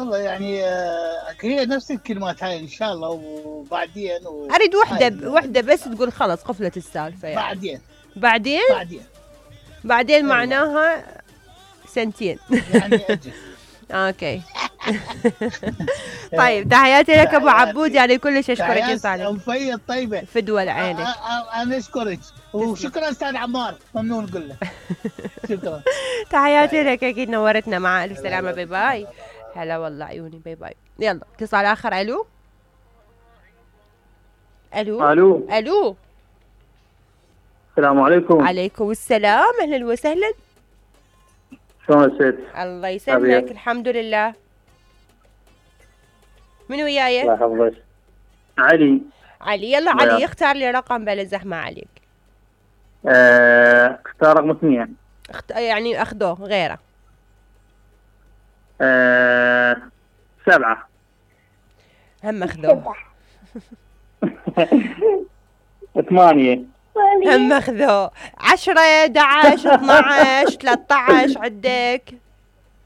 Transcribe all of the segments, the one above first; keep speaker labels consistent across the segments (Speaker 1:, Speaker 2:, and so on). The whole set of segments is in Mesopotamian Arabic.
Speaker 1: والله يعني هي نفس الكلمات هاي ان شاء الله وبعدين
Speaker 2: اريد وحده بس تقول خلص قفلت السالفه يعني. بعدين معناها سنتين
Speaker 1: يعني اجل.
Speaker 2: اوكي. طيب تحياتي لك ابو عبود، يعني كلش اشكرك يا صالح.
Speaker 1: وفية الطيبة
Speaker 2: فدوى عينك.
Speaker 1: انا اشكرك وشكرا استاذ عمار، ممنون نقول له شكرا.
Speaker 2: تحياتي لك، اكيد نورتنا، مع الف سلامة. باي باي. هلا والله عيوني، باي باي. يلا اتصال اخر. الو الو
Speaker 3: الو
Speaker 2: الو.
Speaker 3: السلام عليكم.
Speaker 2: عليكم السلام، اهلا وسهلا.
Speaker 3: شلون الست؟
Speaker 2: الله يسلمك. الحمد لله. من وياي؟
Speaker 3: الله يحفظك. علي.
Speaker 2: يلا علي اختار لي رقم بلا زحمة عليك.
Speaker 3: اختار رقم 2.
Speaker 2: يعني اخذوه غيره.
Speaker 3: 7.
Speaker 2: هم اخذوه.
Speaker 3: 8.
Speaker 2: هم اخذوه. 10 11 12 13 عندك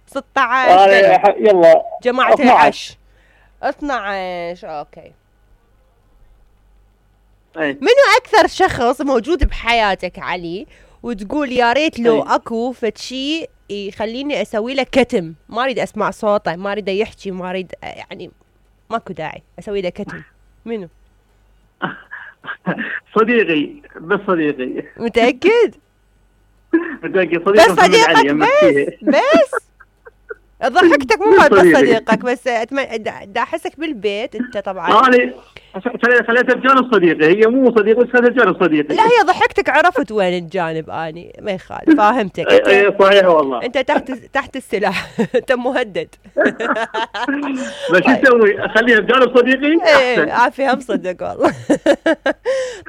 Speaker 2: 16.
Speaker 3: يلا
Speaker 2: جماعة 12. اوكي. منو اكثر شخص موجود بحياتك علي وتقول يا ريت لو اكو فد شيء يخليني اسوي له كتم، ما اريد اسمع صوته، ما اريد يحكي، ما اريد يعني ماكو داعي اسوي له كتم؟ منو؟
Speaker 3: صديقي. بس صديقي.
Speaker 2: متأكد؟
Speaker 3: متأكد.
Speaker 2: بس صديقك بس ضحكتك مو بس صديقك بس. دا احسك بالبيت انت طبعا.
Speaker 3: خليتها بجانب صديقي، هي مو صديقي بس خليتها بجانب صديقي.
Speaker 2: لا هي ضحكتك، عرفت وين الجانب اني، ما يخالف، فاهمتك.
Speaker 3: اي صحيح والله.
Speaker 2: انت تحت السلاح. انت مهدد.
Speaker 3: بس شو اسوي؟ اخليها بجانب صديقي؟
Speaker 2: ايه عافيه مصدق والله.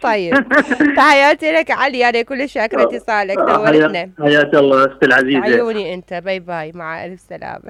Speaker 2: طيب تحياتي لك علي، انا كل شاكره اتصالك، نورتنا.
Speaker 3: حياك الله اختي العزيزه.
Speaker 2: عيوني انت. باي باي، مع الف سلامه.